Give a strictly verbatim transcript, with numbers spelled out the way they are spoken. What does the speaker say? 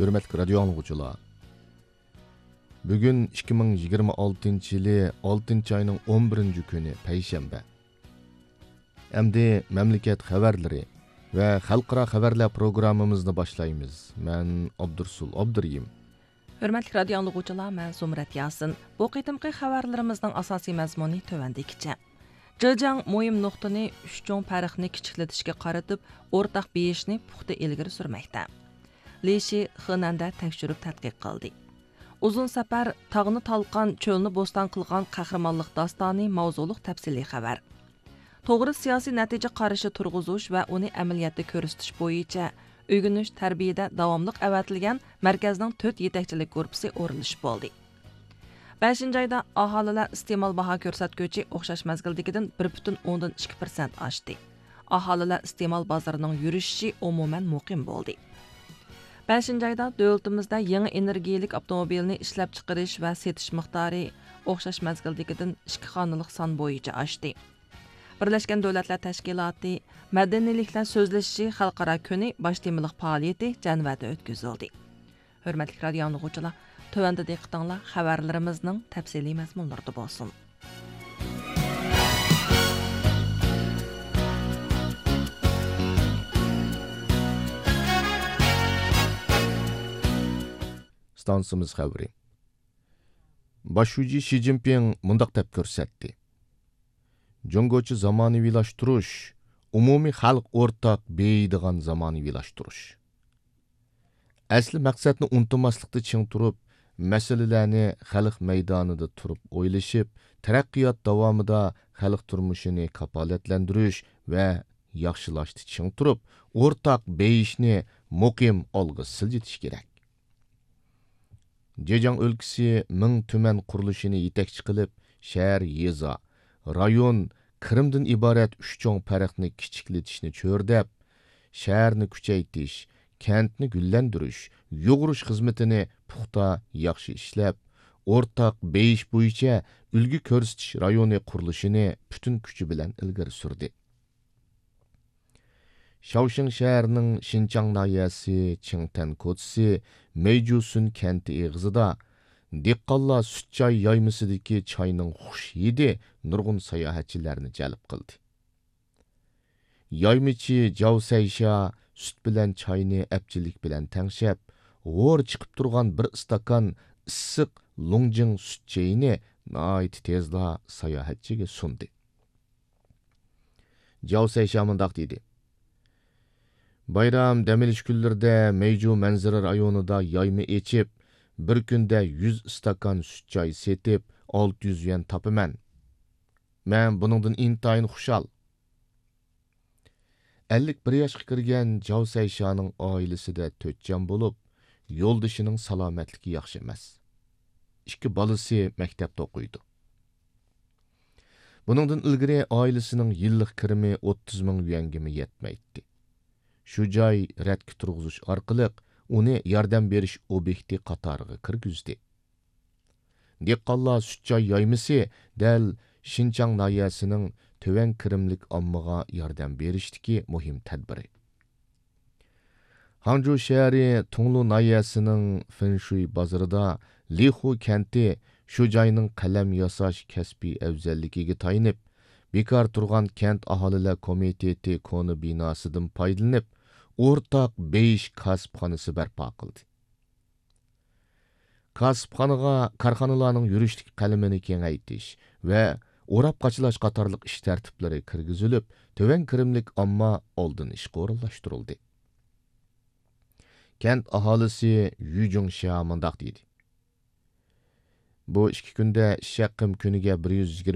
ھۆرمەتلىك رادىيو ئاڭلىغۇچىلار، بۈگۈن ئىككى مىڭ يىگىرمە ئالتىنچى يىلى ئالتىنچى ئاينىڭ ئون بىرىنچى كۈنى، پەيشەنبە. ئەمدى مەملىكەت خەۋەرلىرى ۋە خەلقئارا خەۋەرلەر پروگراممىمىزنى باشلايمىز. مەن ئابدۇرسۇل ئابدۇرېھىم. ھۆرمەتلىك رادىيو ئاڭلىغۇچىلار، مەن زۇمرەت ياسىن. بۇ قېتىمقى خەۋەرلىرىمىزنىڭ ئاساسىي مەزمۇنى تۆۋەندىكىچە. جېجياڭ مۇھىم نۇقتىنى، ئۈچ چوڭ پەرقنى كىچىكلىتىشكە قارىتىپ، ئورتاق بېيىشنى پۇختا ئىلگىرى سۈرمەكتە. لى شى خېنەندە تەكشۈرۈپ تەتقىق قىلدى. ئۇزۇن سەپەر، تاغنى تالقان، چۆلنى بوستان قىلغان قەھرىمانلىق داستانى ماۋزۇلۇق تەپسىلىي خەۋەر. توغرا سىياسىي نەتىجە قارىشى تۇرغۇزۇش ۋە ئۇنى ئەمەلىيەتتە كۆرسىتىش بويىچە ئۆگىنىش، تەربىيەدە داۋاملىق ئەۋەتىلگەن مەركەزنىڭ تۆت يېتەكچىلىك گۇرۇپپىسى ئورۇنلىشىپ بولدى. بەشىنچى ئايدا ئاھالىلەر ئىستېمال باھا كۆرسەتكۈچى ئوخشاش مەزگىلدىكىدىن بىر پۈتۈن ئوندىن ئىككى پىرسەنت ئاشتى. ئاھالىلەر ئىستېمال بازىرىنىڭ يۈرۈشۈشى ئومۇمەن مۇقىم بولدى. بەشىنچى ئايدا دۆلىتىمىزدە يېڭى ئېنېرگىيەلىك ئاپتوموبىلنى ئىشلەپچىقىرىش ۋە سېتىش مىقدارى ئوخشاش مەزگىلدىكىدىن ئىككى خانىلىق سان بويىچە ئاشتى. بىرلەشكەن دۆلەتلەر تەشكىلاتى مەدەنىيلىكلەر سۆزلىشىشى خەلقئارا كۈنى باش تېمىلىق پائالىيىتى جەنۋەدە ئۆتكۈزۈلدى. ھۆرمەتلىك رادىيو ئاڭلىغۇچىلار، تۆۋەندە دىققىتىڭلار خەۋەرلىرىمىزنىڭ تەپسىلىي مەزمۇنلىرىدا بولسۇن. ئىستانسىمىز خەۋىرى. باش شۇجى شى جىنپىڭ مۇنداق دەپ كۆرسەتتى: جۇڭگوچە زامانىۋىلاشتۇرۇش، ئومۇمىي خەلق ئورتاق بېيىيدىغان زامانىۋىلاشتۇرۇش. ئەسلى مەقسەتنى ئۇنتۇماسلىقتا چىڭ تۇرۇپ، مەسىلىلەرنى خەلق مەيدانىدا تۇرۇپ ئويلىشىپ، تەرەققىيات داۋامىدا خەلق تۇرمۇشىنى كاپالەتلەندۈرۈش ۋە ياخشىلاشتا چىڭ تۇرۇپ، ئورتاق بېيىشنى مۇقىم ئالغا سىلجىتىش كېرەك. جېجياڭ ئۆلكىسى مىڭ تۈمەن قۇرۇلۇشىنى يېتەكچى قىلىپ، شەھەر، يېزا، رايون، كىرىمدىن ئىبارەت ئۈچ چوڭ پەرقنى كىچىكلىتىشنى چۆرىدەپ، شەھەرنى كۈچەيتىش، كەنتنى گۈللەندۈرۈش، يۇغۇرۇش خىزمىتىنى پۇختا، ياخشى ئىشلەپ، ئورتاق بېيىش بويىچە ئۈلگە كۆرسىتىش رايونى قۇرۇلۇشىنى پۈتۈن كۈچى بىلەن ئىلگىرى سۈردى. شياۋشىڭ شەھىرىنىڭ شىنچاڭ ناھىيەسى چىڭتەن كوچىسى مېيجۇسۈن كەنتى ئېغىزىدا دېھقانلار سۈت چاي يايمىسىدىكى چاينىڭ خۇش ھىدى نۇرغۇن ساياھەتچىلەرنى جەلپ قىلدى. يايمىچى جاۋ سەيشا سۈت بىلەن چاينى ئەپچىللىك بىلەن تەڭشەپ، ھور چىقىپ تۇرغان بىر ئىستاكان ئىسسىق لۇڭجىڭ سۈت چېيىنى ناھايىتى تېزلا ساياھەتچىگە سۇندى. جاۋ سەيشا مۇنداق دېدى: بايرام دەم ئېلىش كۈنلىرىدە مەيجۇ مەنزىرە رايونىدا يايما ئېچىپ، بىر كۈندە يۈز ئىستاكان سۈت چاي سېتىپ، ئالتە يۈز يۈەن تاپىمەن. مەن بۇنىڭدىن ئىنتايىن خۇشال. ئەللىك بىر ياشقا كىرگەن جاۋ سەيشانىڭ ئائىلىسىدە تۆت جان بولۇپ، يولدىشىنىڭ سالامەتلىكى ياخشى ئەمەس. ئىككى بالىسى مەكتەپتە ئوقۇيدۇ. بۇنىڭدىن ئىلگىرى ئائىلىسىنىڭ يىللىق كىرىمى ئوتتۇز مىڭ يۈەنگىمۇ يەتمەيتتى. شۇ جاي رەتكە تۇرغۇزۇش ئارقىلىق ئۇنى ياردەم بېرىش ئوبيېكتى قاتارىغا كىرگۈزدى. دېھقانلار سۈت چاي يايمىسى دەل شىنچاڭ ناھىيەسىنىڭ تۆۋەن كىرىملىك ئاممىغا ياردەم بېرىشتىكى مۇھىم تەدبىرى. ھاڭجۇ شەھىرى تۇڭلۇ ناھىيەسىنىڭ فېنشۇي بازىرىدا لىخۇ كەنتى شۇ جاينىڭ قەلەم ياساش كەسپىي ئەۋزەللىكىگە تايىنىپ، بىكار تۇرغان كەنت ئاھالىلەر كومىتېتى كونا بىناسىدىن پايدىلىنىپ، ئورتاق بېيىش كاسىپخانىسى بەرپا قىلدى. كاسىپخانىغا كارخانىلارنىڭ يۈرۈشلۈك قەلىمىنى كېڭەيتىش ۋە ئوراپ قاچىلاش قاتارلىق ئىش تەرتىپلىرى كىرگۈزۈلۈپ، تۆۋەن كىرىملىك ئامما ئالدىن ئىشقا ئورۇنلاشتۇرۇلدى. كەنت ئاھالىسى يۈ جۇڭشيا مۇنداق دېدى: بۇ ئىككى كۈندە ئىش ھەققىم كۈنىگە بىر يۈز يىگىرمە